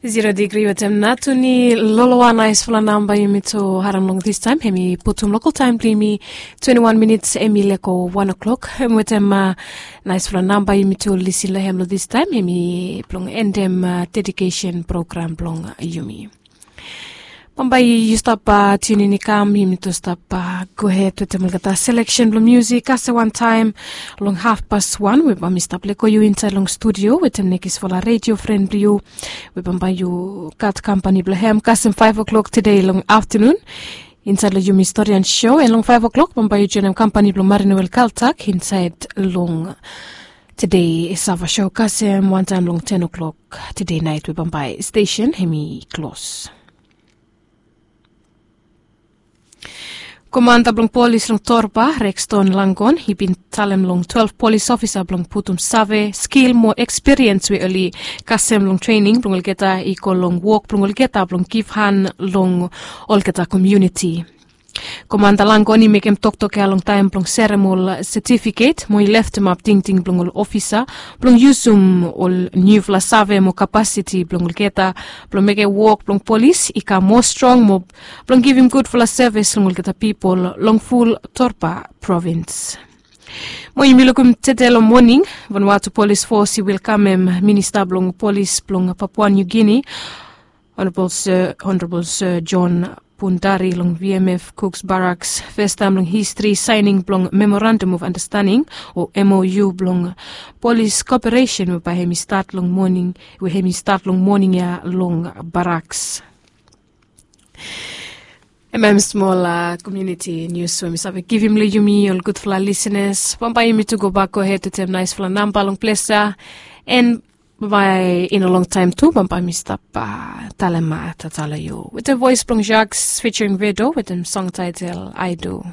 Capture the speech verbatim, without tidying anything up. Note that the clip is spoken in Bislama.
Zero digri wetem natuni loloa, naisfala namba yumi tu harim long distaem. Hemi putum lokal taem blong yumi twenti wan minits, hemi leko wan o'klok. Hem wetem naisfala namba yumi tu lisin long hem long distaem, hemi blong endem dedikesen program blong yumi. Bambae yu stap tiunin i kam, yumi tu stap gohed wetem olgeta seleksen blong musik kasem wantaem long hafpas wan we bambae mi stap leko yu insaed long studio wetem nekisfala redio fren blong yu we bambae yu gat kampani blong hem kasem faef o'klok tede long aftanun insaed long yumi storian sho. An long faef o'klok bambae yu joenem kampani blong Marinowel Kaltak insaed long tede sava sho kasem wantaem long ten o'klok tede naet we bambae stesen hemi klos. Komanda blong polis long Torba, Rexton Langon, i bin talem long twelef polis ofisa blong putum save, skil mo ekspiriens we oli kasem long trening blong olgeta i go long wok blong olgeta blong givhan long olgeta komuniti. Komanda Langon i mekem toktok ya long taem blong seremol setifiket mo i leftemap tingting blong ol ofisa blong yusum ol niufala save mo kapasiti blong olgeta blong mekem wok blong polis i kam moa strong mo blong givim gudfala sevis long olgeta pipol long ful Torba provins. Mo yumi lukim tede long moning, Vanuatu Polis Fos i welkamem Minista blong Polis blong Papua Niu Gini, Honorable Sir, Honorable Sir John Pundari long V M F Cooks Barracks, festaem long histri saening blong Memorandum of Understanding o M O U blong polis koperesen we bae hemi stat long moning, we hemi stat long moning ya long barracks. Hemia smol komuniti nius we mi save givim long yumi ol gudfala lisenas. Bambae yumi tu gobak gohed wetem naesfala namba long ples ya. An bambae in a long taem tu bambae mi stap talem tata long yu wetem voes blong Jacques featuring Vedo wetem song taetel I Do.